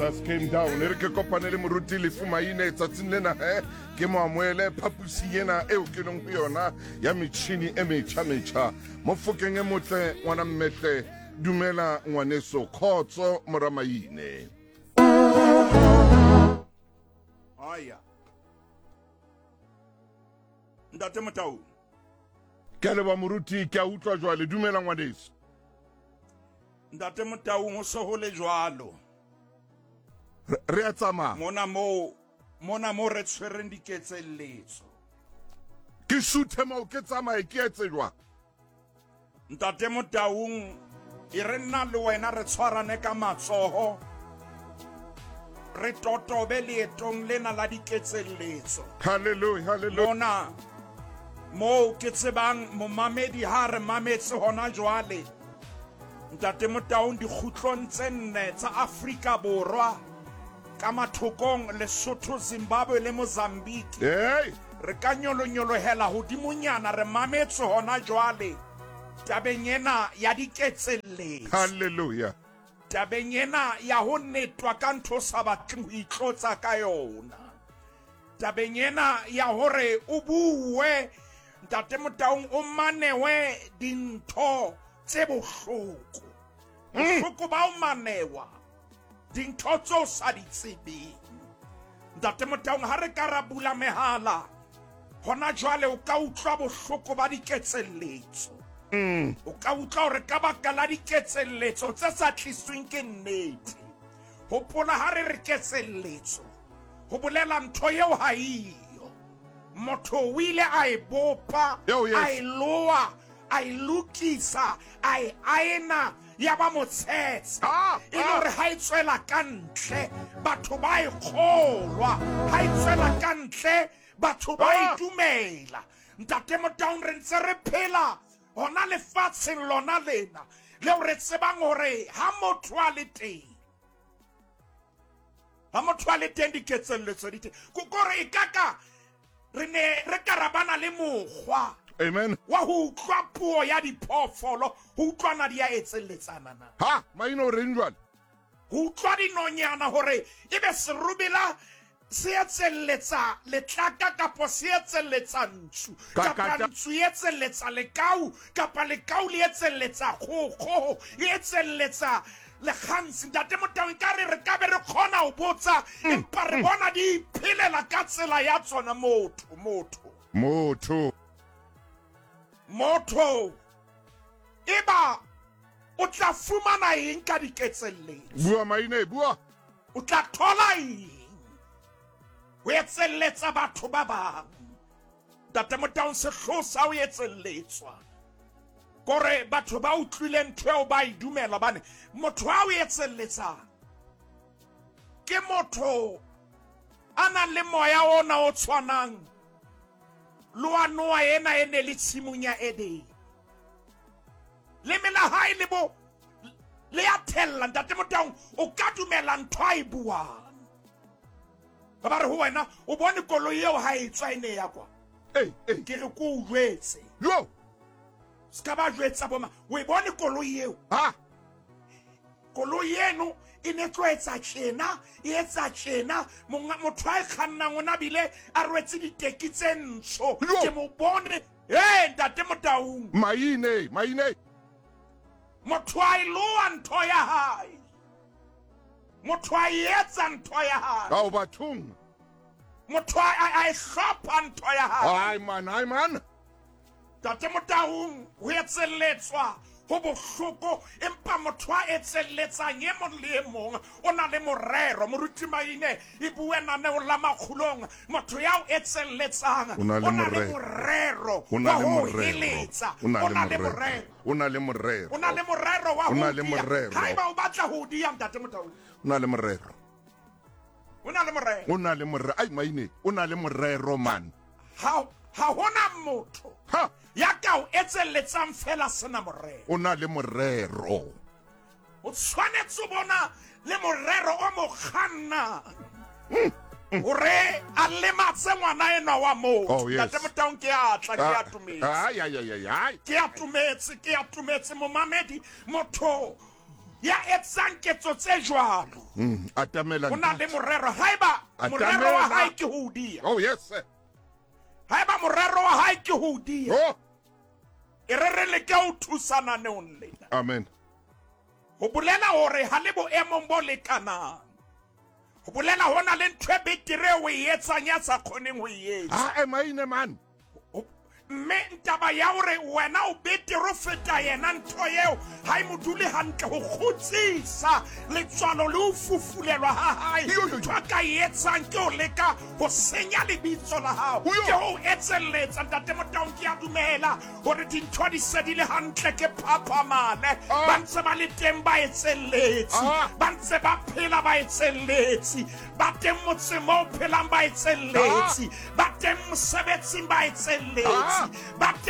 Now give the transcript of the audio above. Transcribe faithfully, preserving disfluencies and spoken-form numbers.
Jesus came down. E re ke kopane le moruti Lefu Maine tsatsing lena he ke mo amohele phaposing ena eo ke leng ho yona ya metjhini e metjha metjha. Mofokeng e motle ngwana mmetle, dumela ngwaneso, khotso mora Maine. Aya. Ntate Motau. Ke a leboha moruti, ke a utlwa jwale, dumela ngwaneso. Ntate Motau, ho se ho le jwalo. Re a tsamaya. Mona moo, mona moo re tshwereng diketselletso. Ke suthe moo ke tsamaye ke etse jwang? Ntate Motaung, e re nna le wena re tshwarane ka matsoho, re totobe leetong lena la diketselletso. Hallelujah, hallelujah. Mona moo ke tsebang momamedi ha re mametse hona jwale. Ntate Motaung, dikgutlong tse nne tsa Afrika Borwa, ka mathokong Lesotho, Zimbabwe le Mozambique. Hey! Re ka nyolonyolohela hodimonyana re mametse hona jwale tabeng ena ya diketselletso. Hallelujah. Tabeng ena ya ho netwa ka ntho o sa batleng ho itlotsa ka yona. Tabeng ena ya hore o bue, Ntate Motaung, o manewe dintho tse bohloko. Bohloko ba o manewa dintho tseo sa di tsebeng. Ntate Motaung, ha re ka ra bula mehala hona jwale, o ka utlwa bohloko ba diketselletso. Mm. O ka utlwa hore ka baka la diketselletso tse sa tlisweng ke nnete. Hopola ha re re ketselletso, ho bolela ntho eo ha eyo. Motho o ile a e bopa, Yo, yes. a e loa, a e lokisa, a e aena, ya ba motshetshe. Ah, E le ah. hore ha e tswela ka ntle, batho ba e kgolwa. Ha e tswela ka ntle, batho ba e Ah. dumela. Ntate Motaung, re ntse re phela hona lefatsheng lona lena leo re tsebang hore ha motho a le teng, ha motho a le teng diketselletso di teng. Ko kore e ka ka re ne re ka ra bana le mokgwa Amen. wa ho utlwa puo ya diphoofolo, ho utlwana di a etselletsana na. Ha, Maine o reng jwale? Ho utlwa dinonyana hore ebe serobela se etselletsa letlaka kapa se etselletsa ntsu, Ka- kapa ka- ntsu e etselletsa lekau, kapa lekau le etselletsa kgoho, kgoho e etselletsa lekgansi. Ntate Motaung, ekare re ka be re kgona ho botsa, empa re bona di iphelela ka tsela ya tsona. Motho, motho. Motho. Motho eba o tla fumana eng ka diketselletso? Bua Maine, bua. O tla thola eng ho etselletsa batho ba bang? Ntate Motaung, sehloho sa ho etselletswa kore batho ba utlwile ntho eo ba e dumela, hobane motho a o etselletsang ke motho a nang le moya ona o tshwanang le wa Noa ena e ne le tshimong ya Edene. Leme la hae le bo le ya thella. Ntate Motaung, o ka dumela ntho a e buang. Ba ba re ho wena, o bone koloi eo ha e tswa e ne ya kwa. Ei, ei. Ke re ko o jwetse. Yo. Se ka ba jwetsa bo ma, o e bone koloi eo. Ha. Koloi eno e ne tlo etsa tjena, e etsa tjena, monga motho a e kgannang o na bile a rwetse diteki tse ntsho. Yo. Ke mo bone. Eh, Ntate Motaung. Maine, Maine. Motho a e loa ntho ya hae. Motho a e etsa ntho ya hae. Ao bathong. Motho a, a, a e hlopha ntho ya hae. Ai man, ai man. Ntate Motaung, ho etselletswa ho bohloko, empa motho a etselletsang e mong le e mong o na le morero. Moruti Maine e bue naneong la makgulong, motho ya o etselletsang O na le o na le morero. morero O na wa le ho morero. heletsa. O na O le na le morero. morero. O na le morero. O na le morero wa O na ho le dia. morero. Haeba o batla ho dia, Ntate Motaung. O na le morero. O na le morero. O na le morero. Ai Maine, o na le morero man. Ha ha hona motho Ha, ya ka o etselletsang fela sena morero. o na le morero. O tshwanetse ho bona le morero o mo kgannang hore a lematse ngwana enwa wa motho. Oh, yes. Ntate Motaung, ke a tla, ke a tumetse. Ai ai ai ai ai. Ke a tumetse, ke a tumetse momamedi. Motho Ya etsang ketso tse jwalo. Mm, atamela O na le morero. Haeba morero wa hae ke ho dia. Oh yes sir. Haeba morero wa hae ke ho dia. Oh. E re re leke ho thusana neong lena. Amen. Ho bolela hore ha le boemong bo lekanang. Ho bolela hona le ntho e betere o e etsang ya sa kgoneng ho e etsa. Ha emaine man. Mme ntaba ya hore wena o betere ho feta yena, ntho eo ha e mo dule hantle ho kgutsisa letswalo le ho fufulelwa ha hae. Ntho a ka e etsang ke ho leka ho senya lebitso la hao, ke ho etselletsa. Ntate Motaung, ke a dumela hore dintho di se di le hantle, ke phaphamale. Ba ntse ba le teng ba etselletsi, ba ntse ba phela ba etselletsi, ba teng motseng moo phelang ba etselletsi, ba teng mosebetsing ba etselletsi, ba teng